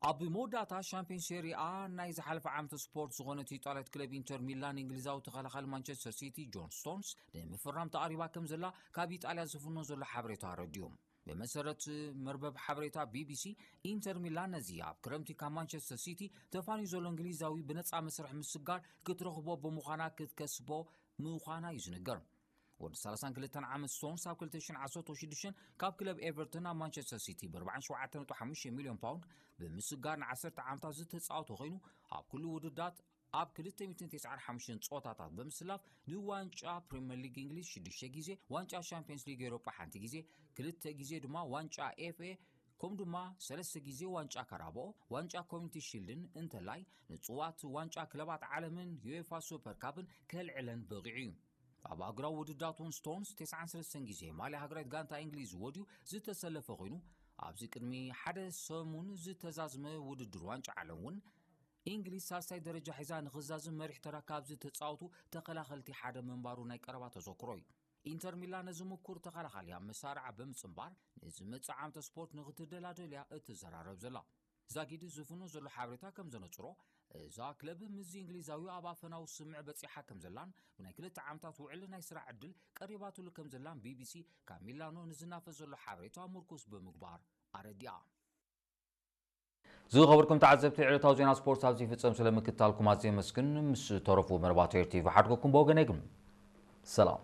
ኣብ መወዳእታ ሻምፒዮን ሴሪ A ናይ ዝሓለፈ ዓመት ስፖርት ዝኾነት ኢጣልያት ክለብ ኢንተር ሚላን እንግሊዛዊ ተኸላኻሊ ማንቸስተር ሲቲ ጆን ስቶንስ ንምፍራም ተቓሪባ ከም ዘላ ካብ ኢጣልያ ዝፍኖ ዘሎ ሓበሬታ ኣረዲኡ። ብመሰረት መርበብ ሓበሬታ ቢቢሲ፣ ኢንተር ሚላን ነዚ ኣብ ክረምቲ ካብ ማንቸስተር ሲቲ ተፋንዩ ዘሎ እንግሊዛዊ ብነፃ መስርሕ ምስጋር ክትረኽቦ ብምዃና ክትከስቦ ምዃና እዩ ዝንገር። ወዲ ሰላሳን ክልተን ዓመት ስቶንስ ኣብ ክልተ ሽሕን ዓሰርተ ሽዱሽተን ካብ ክለብ ኤቨርተን ናብ ማንቸስተር ሲቲ ብ ኣርባዓን ሸውዓተን ነጥቢ ሓሙሽተ ሚልዮን ፓውንድ ብምስጋር ንዓሰርተ ዓመታት ዝተፃወተ ኮይኑ፣ ኣብ ኩሉ ውድዳት ኣብ ክልተ ሚእትን ተስዓን ሓሙሽተን ፀወታታት ብምስላፍ ንዋንጫ ፕሪምየር ሊግ እንግሊዝ ሽዱሽተ ግዜ፣ ዋንጫ ሻምፒየንስ ሊግ ኤውሮጳ ሓንቲ ግዜ፣ ክልተ ግዜ ድማ ዋንጫ ኤፍኤ፣ ከምኡ ድማ ሰለስተ ግዜ ዋንጫ ካራባኦ፣ ዋንጫ ኮሚኒቲ ሺልድን እንተላይ ንፅዋት ዋንጫ ክለባት ዓለምን ዩኤፋ ሱፐር ካፕን ከልዕለን በቒዑ እዩ። ኣብ ኣህጉራዊ ውድድራት እውን ስቶንስ ተስዓን ሰለስተን ግዜ ማልያ ሃገራዊት ጋንታ እንግሊዝ ወድዩ ዝተሰለፈ ኮይኑ፣ ኣብዚ ቅድሚ ሓደ ሰሙን ዝተዛዝመ ውድድር ዋንጫ ዓለም እውን እንግሊዝ ሳልሳይ ደረጃ ሒዛ ንኽዛዝም መሪሕ ተራ ካብ ዝተፃወቱ ተኸላኸልቲ ሓደ ምንባሩ ናይ ቀረባ ተዘክሮ እዩ። ኢንተር ሚላን ነዚ ምኩር ተኸላኻሊ ኣብ መሳርዓ ብምፅንባር ንዝመፅእ ዓመተ ስፖርት ንኽትደላደል እያ እትዘራረብ ዘላ። ዛጊድ ዝፍኖ ዘሎ ሓበሬታ ከም ዘነፅሮ፣ እዛ ክለብ ምስዚ እንግሊዛዊ ኣብ ኣፈናዊ ስምምዕ በፂሓ ከም ዘላን ብናይ ክልተ ዓመታት ውዕል ናይ ስራሕ ዕድል ቀሪባትሉ ከም ዘላን ቢቢሲ ካብ ሚላኖ ንዝናፈስ ዘሎ ሓበሬታ ምርኩስ ብምግባር ኣረዲኣ። ዝኸበርኩም ተዓዘብቲ፣ ዕለታዊ ዜና ስፖርት ኣብዚ ይፍጸም። ስለምክትታልኩም ኣዝየ የመስግን። ምስ ተረፉ መርባት ኤር ቲቪ ሓድገኩም ብወገነይ ግን ሰላም።